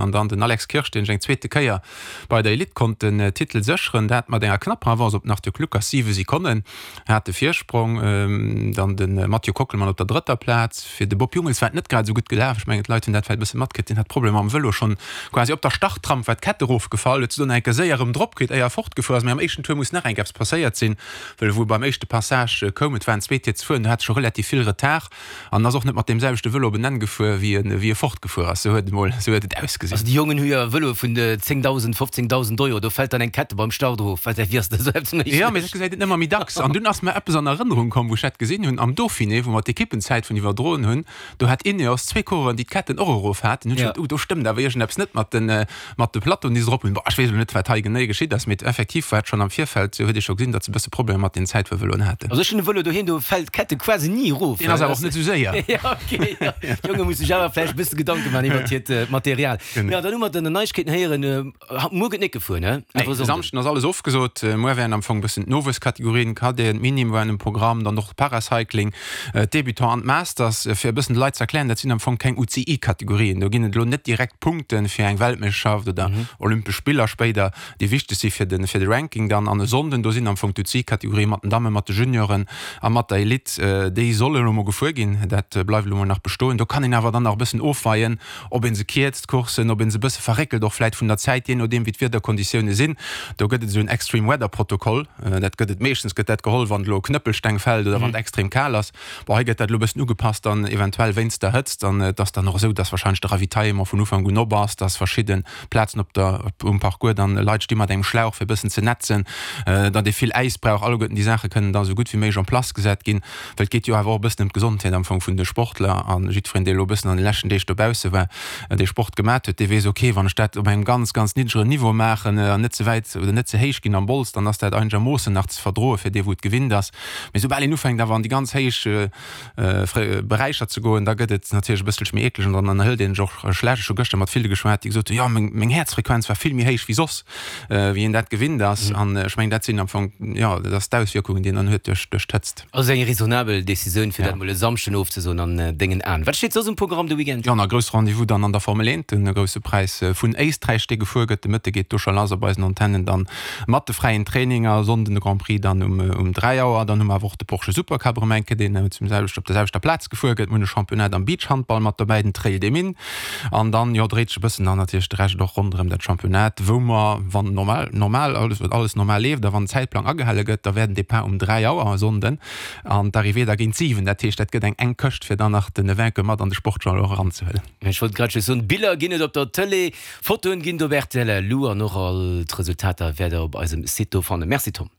An dann den Alex Kirsch, deen sech eng zweete Kéier bei der Elite konnt den Titel sécheren, dat mat enger knapper Avance op den Arthur Kluckers, 7 Sekonnen hat de Virsprong. Dann de Mathieu Kockelmann op der drëtter Plaz. Fir de Bob Jungels war et net grad esou gutt gelaf. Ech mengen d'Leit hunn dat vläicht e bësse matkritt, deen hat Problemer mam Vëlo, schonn quasi op der Startramp war d'Kett erofgefall, huet se dunn eng Kéier séier erëm drop kritt, éier e fortgefuer ass. Mee am éischten Tour muss nach eng Kéier eppes passéiert sinn, well wou e beim éischte Passage koum, et waren zwee Tier ze fueren, do hat e scho relativ vill Retard. An ass och net mat deem selwechte Vëlo op en Enn gefuer, wéi en, wéi e fortgefuer ass. Sou huet et emol, sou huet et ausgesinn. Also déi Jongen hu jo Vëloe vun 10.000, 15.000 Euro, do fält dann eng Kette beim Start erof. Wat, wéi ass dat esou eppes méiglech? Jo, mee dat gesäit een ëmmer méi dacks. An dunn ass mer eppes an Erënnerung komm, wou ech dat gesinn hunn, am Dauphiné, wou mer d'Ekippenzäitfun iwwerdroen hunn, do hat Ineos zwee Coureuren, déi d'Ketten och erof haten. Hunn ech geduet, Uh, do stëmmt awer iergendeppes net mat den, mat de Plateauen, déi se drop hunn. Bon, ech weess elo net, wat hei genee geschitt ass, mee effektiv war et schonn am Virfeld, huet ee scho gesinn, datt se e bësse Problemer mat den Zäitfuervëloen haten. Also ech hunn e Vëlo doheem, do fält d'Kette quasi ni erof. Deen ass awer och net esou séier. Jo, ok, jo. D'Jonge musse sech awer vläicht e bësse Gedanke maachen iwwert hiert Material. Jo, dann hu mer den Neiegkeeten héieren. Muer gëtt net gefuer, ne? Nee, de Samschden ass alles ofgesot. Muer wären am Fong e bëssen d'Nowuesskategorien, Cadeten, d'Minim waren um Programm, dann och Paracycling. D'Débutants an d'Masters, fir e bëssen de Leit ze erklären, dat sinn am Fong keng UCI-Kategorien. Do ginn et elo net direkt Punkte fir eng Weltmeeschterschaft oder Olympesch Spiller spéider, déi wichteg si fir de fir de Ranking dann. An e Sonnden, do sinn am Fong d'UCI-Kategorië mat den Dammen, mat de Junioren a mat der Elite, déi solle elo mol gefuer ginn. Dat bleift elo mol nach bestoen. Do kann een awer dann nach e bëssen ofweien, ob ee se kierzt, d'Courssen, ob ee se e bësse verréckelt, och vläit vun der Zäit, jee nodeem wéi d'Wiederkonditioune sinn. Do gëtt et esou en Extreme Weather Protokoll. Dat gëtt et meeschtens gëtt dat geholl, wann elo Knëppelsteng fält oder wann et extrem kal ass. Bon, hei gëtt dat elo e bëssen ugepasst dann eventuell wéinst der Hëtzt. An et ass dann och esou, dass warscheinlech de Ravitaillement vun Ufank un op ass, dass verschidde Plazen op der, um Parcours dann Leit sti mat engem Schlauch fir e bëssen ze nätzen, datt ee vill Äis brauch. Alleguerten déi Saache kënnen da esou gutt wéi méiglech en place gesat ginn. Well et geet jo awer och e bëssen ëm d'Gesondheet am Fong vun de Sportler. A jiddwereen, dee elo e bëssen an de leschten Deeg dobausse war, dee Sport gemat huet, dee weess, ok, wann ech dat op engem ganz, ganz niddregeren Niveau maachen an net ze wäit oder net ze héich ginn am Bols, dann ass dat einegermoossen nach ze verdroe fir dee wou et gewinnt ass. Mee soubal een ufänkt awer an déi ganz héich Beräicher ze goen, da gëtt et natierlech e bësselche méi eekleg an dann erhëlt een sech och schlecht. Ech hu gëschter mat ville geschwat, déi gesot hunn, jo meng Häerzfrequenz war vill méi héich wéi soss. Wéi een dat gewinnt ass. An ech mengen, dat sinn am Fong, jo, dat ass d'Auswierkungen, déi een dann huet duerch, duerch d'Hëtzt. Also eng raisonnabel Decisioun, fir dat mol e Samschden ofzesoen an dengen Aen. Wat steet soss um Programm de Weekend? Jo, nach e grousse Rendez-vous dann an der Formel 1, de Grousse Präis vun Éisträich, dee gefuer gëtt. De Mëtte geet do scho lass op eisen Antennen dann mat de fräien Traininger. Sonnden de Grand Prix dann um um 3 Auer. Dann hu mer awer och de Porsche Supercup erëm eng Kéier, deen zum selwecht op der selwechter Plaz gefuer gëtt. Mir hunn e Championnat am Beachhandball mat dobäi, den Trail des Mines. An dann, jo, dréit sech e bëssen dann natierlech de Rescht och ronderëm dat Championnat, wou mer, wann normal, normal alles, alles normal leeft a wann den Zäitplang agehale gëtt, da wär den Depart um 3 Auer e Sonnden an d'Arrivée da géint 7. Dat heescht, dat gëtt eng enk Këscht, fir dann nach den Vainqueur mat an de Sportjournal och eranzehuelen. Ech wollt grad just soen, Biller ginn et op der Tëlee, Fotoen ginn et op rtl Lu an och all d'Resultater wäert der op eisem Site do fannen. Merci Tom.